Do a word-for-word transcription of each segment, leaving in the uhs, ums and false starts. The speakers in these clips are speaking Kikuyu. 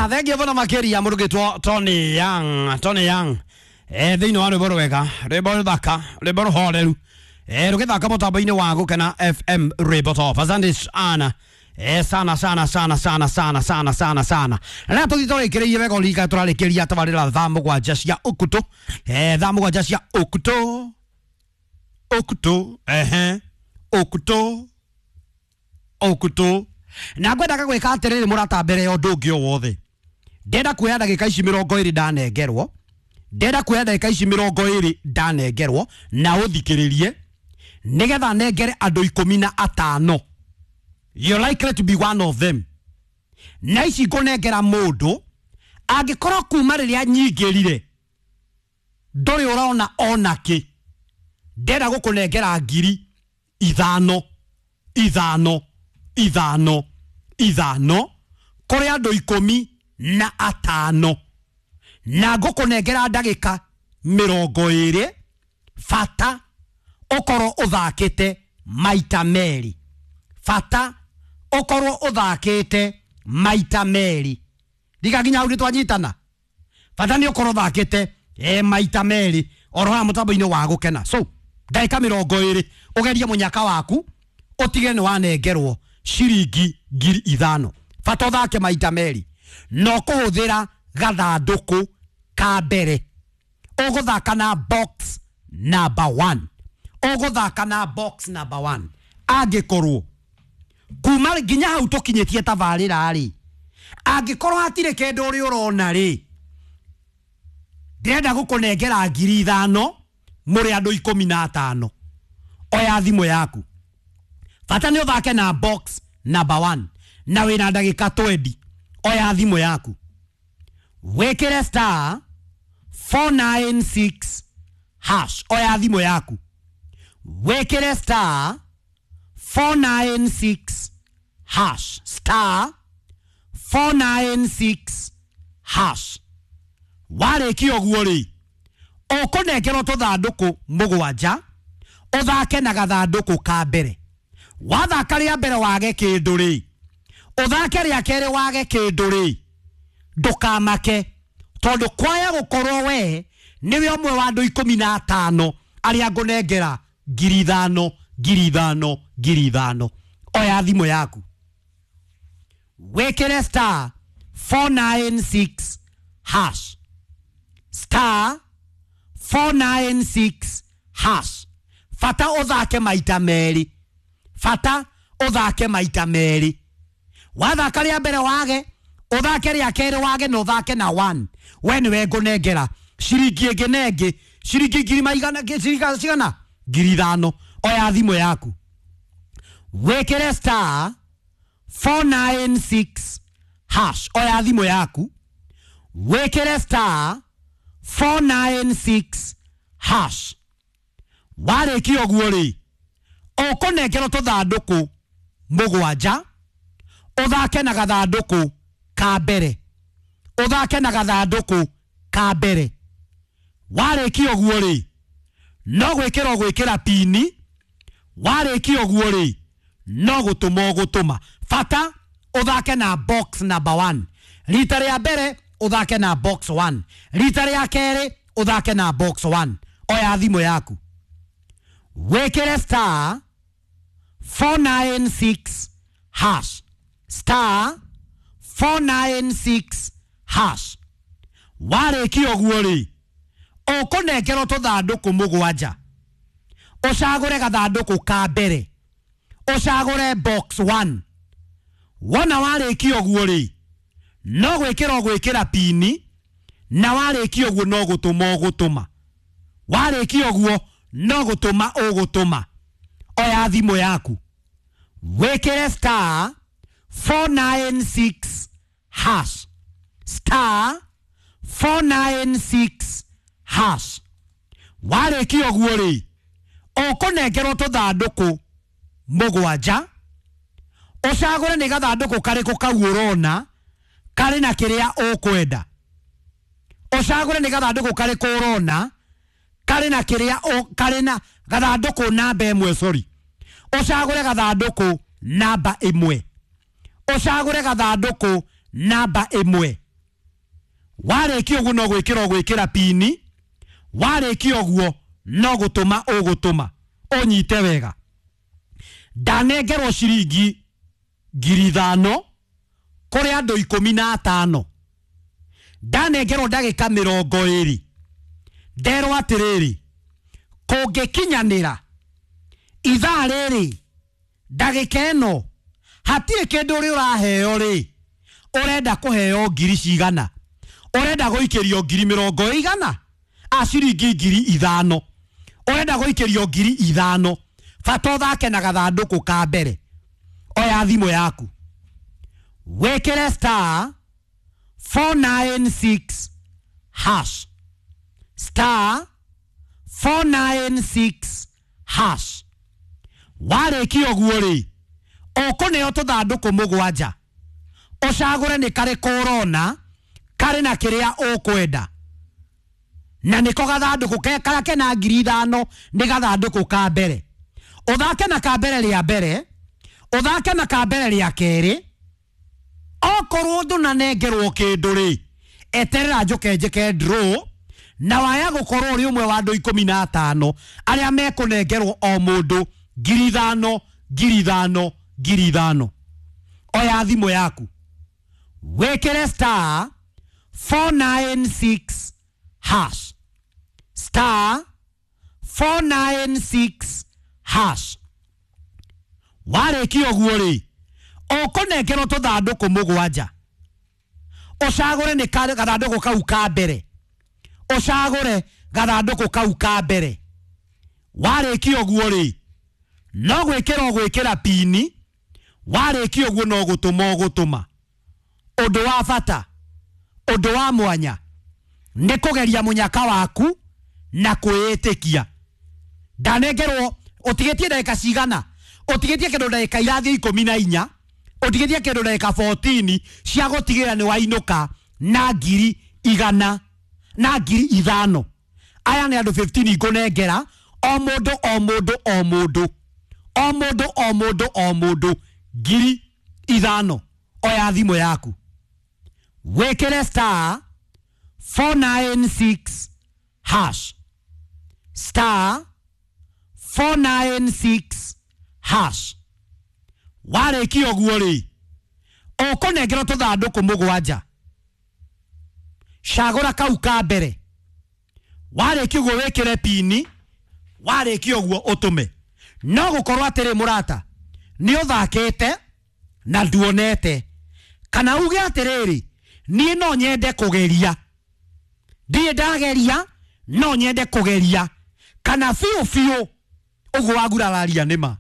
Thengia mũno makĩria mũrugĩtwo Tony Young, Tony Young. Eh, thĩinĩ wa rwĩmbo rwega, rwĩmbo rũthaka, rwĩmbo rũhoreru. Eh, rũgĩthaka mũtambo-inĩ wa Gũkena F M rwĩmbo top. Asante sana. Eh, sana sana sana sana sana sana sana sana. Na tũthiĩ tũrĩkĩrĩirie wega ũririkane tũrarĩkĩria tabarĩra thaa mũgwanja cia ũkutũ. Eh, thaa mũgwanja cia ũkutũ. Ũkutũ, ehe. Ũkutũ. Ũkutũ. Na ngwendaga gwĩka atĩrĩrĩ mũrata mbere ya ũndũ ũngĩ o wothe. Ndĩrenda kuoya ndagĩka ici mĩrongo ĩrĩ ndanengerwo. Ndĩrenda kuoya ndagĩka ici mĩrongo ĩrĩ ndanengerwo na ũthikĩrĩrie nĩgetha nengere andũ ikũmi na atano. You're likely to be one of them. Na ici ngũnengera mũndũ angĩkorwo kuma rĩrĩa nyingĩrire ndũrĩ ũrona ona kĩ. Ndĩrenda gũkũnengera ngiri ithano ithano ithano ithano kũrĩ andũ ikũmi na atano na ngũkũnengera ndagĩka mĩrongo ĩrĩ bata ũkorwo ũthakĩte maita merĩ bata ũkorwo ũthakĩte maita merĩ ndiga nginya hau nĩtwanyitana bata nĩ ũkorwo ũthakĩte e maita merĩ oro haha mũtambo-inĩ wa Gũkena. So ndagĩka mĩrongo ĩrĩ ũgerie mũnyaka waku ũtige nĩ wanengerwo ciringi ngiri ithano bata ũthake maita merĩ no kũhũthĩra gathandũkũ ka mbere ũgũthaka na box number one ũgũthaka na box number one angĩkorwo kuma nginya hau tũkinyĩtie tabarĩra rĩ angĩkorwo hatirĩ kĩndũ ũrĩ ũrona rĩ ndĩrenda gũkũnengera ngiri ithano mũrĩ andũ ikũmi na atano oya thimũ yaku bata nĩ ũthake na box number one na wĩna ndagĩka twenty oya thimũ yaku wĩkĩre star four nine six hash oya thimũ yaku wĩkĩre star four nine six hash star four nine six hash warĩkia ũguo rĩ ũkũnengerwo tũthandũkũ mũgwanja ũthake na gathandũkũ ka mbere wathaka rĩa mbere wage kĩndũ rĩ ũthake rĩa kerĩ wage kĩndũ rĩ ndũkamake tondũ kwaya gũkorwo we nĩwe ũmwe wa andũ ikũmi na atano arĩa ngũnengera ngiri ithano ngiri ithano ngiri ithano oya thimũ yaku wĩkĩre star four nine six hash star four nine six hash bata ũthake maita merĩ bata ũthake maita merĩ wathaka rĩa mbere wage ũthake rĩa kerĩ wage na ũthake na one we nĩwe ngũnengera ciringi ĩngĩ na ĩngĩ ciringi ngiri maigana ciringi cigana ngiri ithano oya thimũ yaku wĩkĩre star four nine six hash oya thimũ yaku wĩkĩre star four nine six hash warĩkia ũguo rĩ ũkũnengerwo tũthandũkũ mũgwanja ũthake na gathandũkũ ka mbere ũthake na gathandũkũ ka mbere warĩkia ũguo rĩ no gwĩkĩra ũgwĩkĩra pini warĩkia ũguo rĩ no gũtũma ũgũtũma bata ũthake na box number one rita rĩa mbere ũthake na box one rita rĩa kerĩ ũthake na box one oya thimũ yaku wĩkĩre star four nine six hash star four nine six hash warĩkia ũguo rĩ ũkũnengerwo tũthandũkũ mũgwanja ũcagũre gathandũkũ ka mbere ũcagũre box one wona warĩkia ũguo rĩ no gwĩkĩra ũgwĩkĩra pini na warĩkia ũguo no gũtũma ũgũtũma warĩkia ũguo no gũtũma ũgũtũma oya thimũ yaku wĩkĩre star four nine six hash star four nine six hash warĩkia ũguo rĩ ũkũnengerwo tũthandũkũ mũgwanja ũcagũre nĩ gathandũkũ karĩkũ kau ũrona karĩ na kĩrĩa ũkwenda ũcagũre nĩ gathandũkũ karĩkũ ũrona karĩ na kĩrĩa karĩ na gathandũkũ namba ĩmwe sorry ũcagũre gathandũkũ namba ĩmwe ũcagũre gathandũkũ namba ĩmwe Warĩkia ũguo no gwĩkĩra ũgwĩkĩra pini, warĩkia ũguo no gũtũma ũgũtũma. Ũnyite wega, ndanengerwo ciringi ngiri ithano kũrĩ andũ ikũmi na atano, ndanengerwo ndagĩka mĩrongo ĩrĩ, nderwo atĩrĩrĩ, kũngĩkinyanĩra ithaa rĩrĩ ndagĩka ĩno hatirĩ kĩndũ ũrĩ ũraheo rĩ, ũrenda kũheo ngiri cigana, ũrenda gũikĩrio ngiri mĩrongo ĩigana, a ciringi ngiri ithano, ũrenda gũikĩrio ngiri ithano, bata ũthake na gathandũkũ ka mbere. Oya thimũ yaku wĩkĩre star four nine six hash, star four nine six hash. Warĩkia ũguo rĩ, ũkũneo tũthandũkũ mũgwanja, ũcagũre nĩ karĩkũ ũrona karĩ na kĩrĩa ũkwenda, na nĩko gathandũkũ karĩa kena ngiri ithano nĩ gathandũkũ ka mbere. Ũthake na ka mbere rĩa mbere, ũthake na ka mbere rĩa kerĩ. Okorwo ndũnanengerwo kĩndũ rĩ, eterera njũke njĩke draw, na waya gũkorwo ũrĩ ũmwe wa andũ ikũmi na atano arĩa mekũnengerwo o mũndũ ngiri ithano, ngiri ithano, ngiri ithano. Oya thimũ yaku wĩkĩre star four nine six hash, star four nine six hash. Warĩkia ũguo rĩ, ũkũnengerwo tũthandũkũ mũgwanja, ũcagũre nĩ gathandũkũ kau ka mbere, ũcagũre gathandũkũ kau ka mbere. Warĩkia ũguo rĩ, no gwĩkĩra ũgwĩkĩra pini, warĩkia ũguo no gũtũma ũgũtũma. Ũndũ wa bata, ũndũ wa mwanya nĩ kũgeria mũnyaka waku na kwĩĩtĩkia. Ndanengerwo ũtigĩtie ndagĩka cigana, ũtigĩtie kĩndũ ndagĩka irathiĩ ikũmi na inya, ũtigĩtie kĩndũ ndagĩka fourteen cia gũtigĩrĩra nĩ wainũka na ngiri igana na ngiri ithano. Aya nĩ andũ fifteen ngũnengera o mũndũ o mũndũ o mũndũ o mũndũ o mũndũ o mũndũ ngiri ithano. Oya thimũ yaku wĩkĩre star four nine six hash, star four nine six hash. Warĩkia ũguo rĩ, ũkũnengerwo tũthandũkũ mũgwanja, cagũra kau ka mbere. Warĩkia ũguo wĩkĩre pini, warĩkia ũguo ũtũme. No gũkorwo atĩrĩ mũrata, nĩ ũthakĩte na nduonete, kana uge atĩrĩrĩ, niĩ no nyende kũgeria, ndirĩ ndageria no nyende kũgeria, kana biũ biũ ũguo wagurararia nĩma.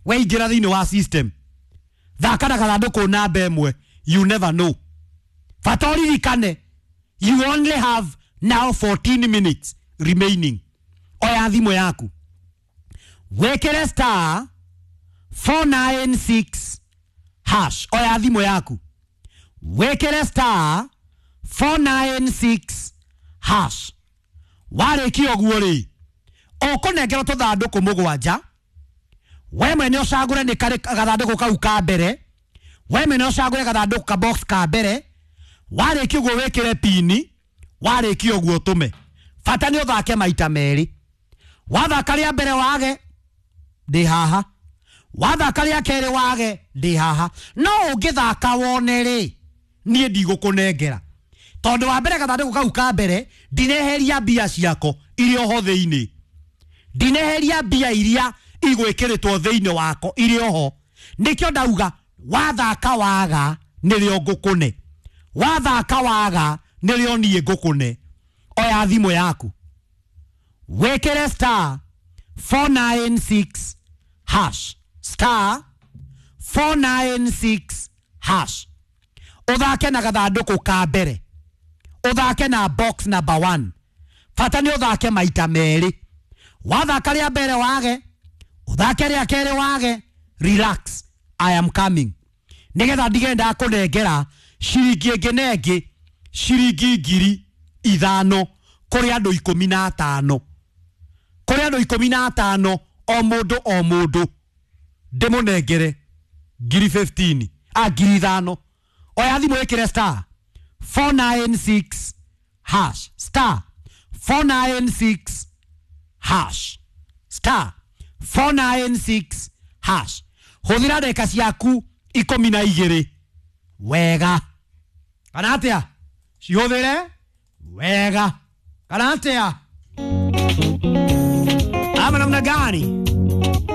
Weingĩra thĩinĩ wa system, thaka na gathandũkũ namba ĩmwe, you never know. Bata ũririkane, you only have now fourteen minutes remaining. Oya thimũ yaku wĩkĩre star four nine six hash. Oya thimũ yaku wĩkĩre star four nine six hash. Warĩkia ũguo rĩ, ũkũnengerwo tũthandũkũ mũgwanja, we mwene ũcagũre nĩ karĩ gathandũkũ kau ka mbere, we mwene ũcagũre gathandũkũ ka box ka mbere. Warĩkia ũguo wĩkĩre pini, warĩkia ũguo ũtũme. Bata nĩ ũthake maita merĩ. Wathaka rĩa mbere wage, ndĩ haha. Wathaka rĩa kerĩ wage, ndĩ haha. No ũngĩthaka wone rĩ, niĩ ndigũkũnengera, tondũ wa mbere gathandũkũ kau ka mbere ndineheria mbia ciako iria oho thĩinĩ, ndineheria mbia iria igwĩkĩrĩtwo thĩinĩ wako irĩ oho. Nĩkĩo ndauga wathaka waga nĩrĩo ngũkũne, wathaka waga nĩrĩo niĩ ngũkũne. Oya thimũ yaku wĩkĩre star four nine six hash, star four nine six hash. Ũthake na gathandũkũ ka mbere, ũthake na box number one. Bata nĩ ũthake maita merĩ. Wathaka rĩa mbere wage, ũthake rĩa kerĩ wage, relax, I am coming. Nĩgetha ndige ndakũnengera ciringi ĩngĩ na ĩngĩ, ciringi ngiri ithano kũrĩ andũ ikũmi na atano, kũrĩ andũ ikũmi na atano o mũndũ o mũndũ ndĩmũnengere ngiri fifteen, a ngiri ithano. Oya thimũ ĩkĩre star four nine six hash, star four nine six hash, star four nine six hash. Hũthĩra ndagĩka ciaku ikũmi na igĩrĩ wega kana atĩa, cihũthĩre wega kana atĩa, ama namna gani?